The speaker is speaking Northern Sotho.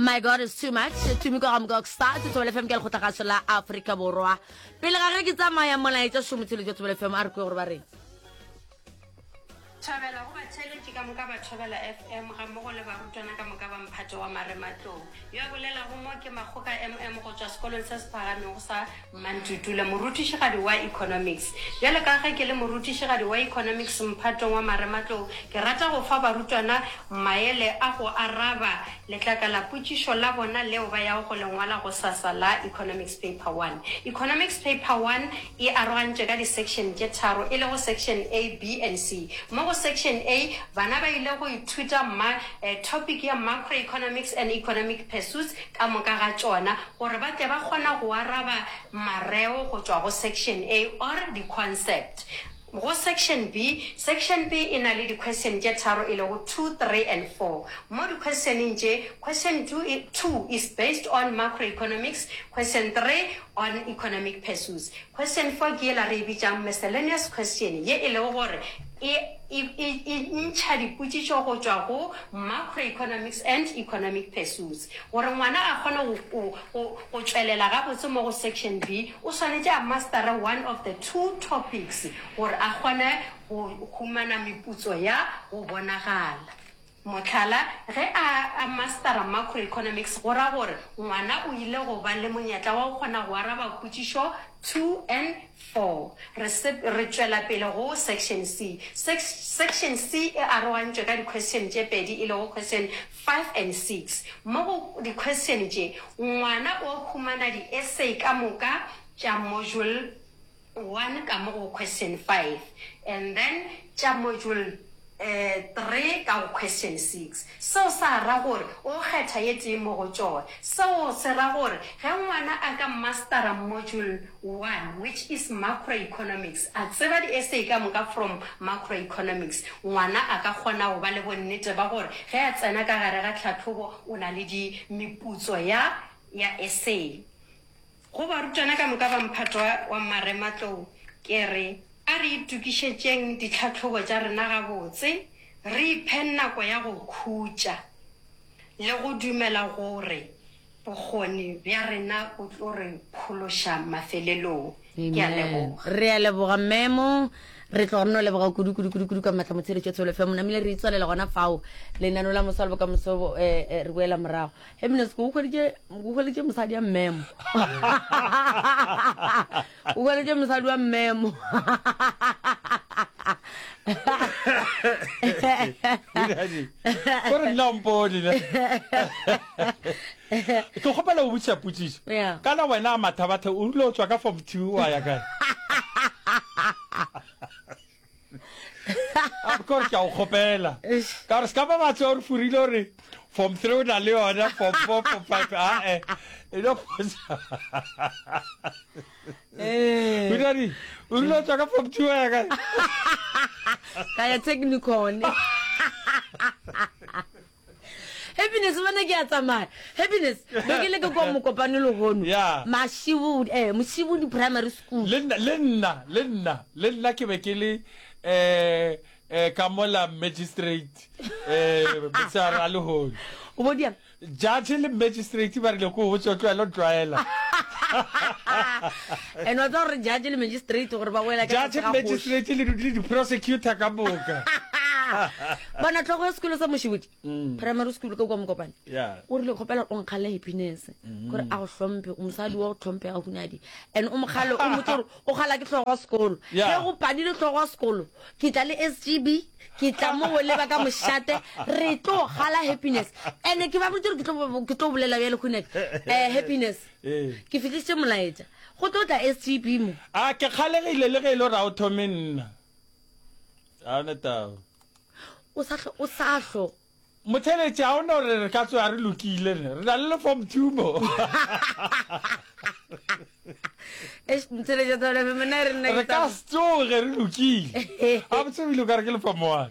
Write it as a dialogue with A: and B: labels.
A: My God is too much. Tumi ka ga Mokokstad, Thobela FM ke lekgotlagašo la Afrika Borwa. Pele ga ge ke tsamaya molaetša šomotsheletšo Thobela FM a re kwe gore ba reng.
B: Thobela go batheeletši ka moka ba Thobela FM gammogo le barutwana ka moka ba mphato wa Marematlou. Yo a bolelago mo ke Makgoka MM go tšwa sekolong se se phagamego sa Mmantutula, morutišigadi wa Economics. Bjalo ka ge ke le morutišigadi wa Economics mphatong wa Marematlou, ke rata go fa barutwana maele a go araba letlakalapotšišo la bona leo ba yago go le ngwala gosasa la Economics Paper One. Economics Paper One e arogantšwe ka di-section tše tharo, e lego Section A, B and C. Mo go Section A, bana ba ile go ithuta ma, topic ya Macroeconomics and Economic Pursuits ka moka ga tšona gore ba tle ba kgona go araba mareo go tšwa go Section A or di-concept. Go Section B, Section B e na le di-question tše tharo e lego two, three and four. Mo di-questioneng tše, question two, two is based on macroeconomics, question three on economic pursuits. Question four ke yela re e bitšang miscellaneous question ye e lego gore e, e, e, e ntšha dipotšišo go tšwa go macroeconomics and economic pursuits. Gore ngwana a kgone go, go, go, go tšwelela gabotse mo go section B, o swanetše a mastere one of the two topics gore a kgone go humana meputso ya go bonagala. Mohlala, ge a a mastera Macroeconomics go ra gore ngwana o ile go ba le monyetla wa go kgona go araba potšišo 2 and 4. Re se re tšwela pele go Section C. Sex Section C e arogantšwe ka di-question tše pedi e lego question 5 and 6. Mo go di-question tše ngwana o humana di-essay ka moka tša module 1 ka mo go question 5 and then tša module 3 ka go question 6. Seo sa ra gore o kgetha ye tee mo go tšona. Seo se ra gore ge ngwana a ka mastera module 1 which is macroeconomics, a tseba di essay ka moka from macroeconomics, ngwana a ka kgona go ba le bonnete ba gore ge a tsena ka gare ga tlhahlobo o na le di meputso ya ya essay. Go barutwana ka moka ba mphato wa marematlou ke re a re itokišetšeng ditlhahlobo tša rena gabotse, re iphe nako ya go khutša le go dumela gore bokgoni bja rena bo tlo re phološa mafelelong. Ke a
A: Amen.
B: leboga.
A: Re a leboga memo. Re tloga re no leboga kudu kudu kudu kudu ka matla motsheletšo Thobela FM. Namile re itswalela gona fao. Lenano la moswa le bokamoso eh, eh, re boela morago. Happiness o hweditše o hweditše mosadi ya mmemo. O hweditše mosadi wa mmemo.
C: Gore nna mpone ne. Ke kgopela go botšiša potšišo.
A: Yeah.
C: Kana wena a mathabatha o rile o tswa ka form 2 wa ya kae? A ke gore ke a o kgopela. Ka gore se ka ba batho o re furile gore form 3 o na le yona, form 4, form 5 a eh. E no potsa.
A: Eh.
C: O rile o rile o tswa ka form 2 wa ya kae?
A: Ka ya technicon. Happiness bana ke a tsamaya. Happiness be ke le ke kwa mokopane lehono.
C: Yeah.
A: Mashibudi eh Moshibudi Primary School.
C: Le nna le nna le nna le nna ke be ke le eh eh ka mola magistrate eh motshehare a lehono.
A: O bo diang?
C: Judge le magistrate ba rile ko botse o tlwaela o tlwaela.
A: And wa tseba gore judge le magistrate gore ba wela ka
C: Judge
A: tlase ga kgoši.
C: magistrate le le di-prosecutor ka moka.
A: Bona tlhogo ya sekolo sa Moshibudi Primary School ka kwa Mokopane.
C: Yeah.
A: O rile kgopela o nkgale happiness gore a go hlomphe o mosadi wa go hlomphega hunadi and o mokgale o motse gore o kgala ke hlogo ya sekolo.
C: Yeah.
A: Ge go padile hlogo ya sekolo ke tla le SGB ke tla mo go leba ka mošate re tlo gala happiness and ke ba botse gore ke tlo ke tlo bolela bjale hunadi eh happiness
C: Ee.
A: ke fihlišitše molaetša go tlo tla SGB mo
C: A ke kgalegile le ge e le gore ga o thome nna. Ga o na taba.
A: o sa hlo o sa hlo
C: Motheeletši, ga o no re re ka tsoga re lokile ne. Re na le le form two mo.
A: Eish, motheeletši wa Thobela FM, nna e re nna
C: Re
A: ke
C: ka
A: tsa-
C: se tsoge re lokile. Gabotse o ile o ka re ke le form one.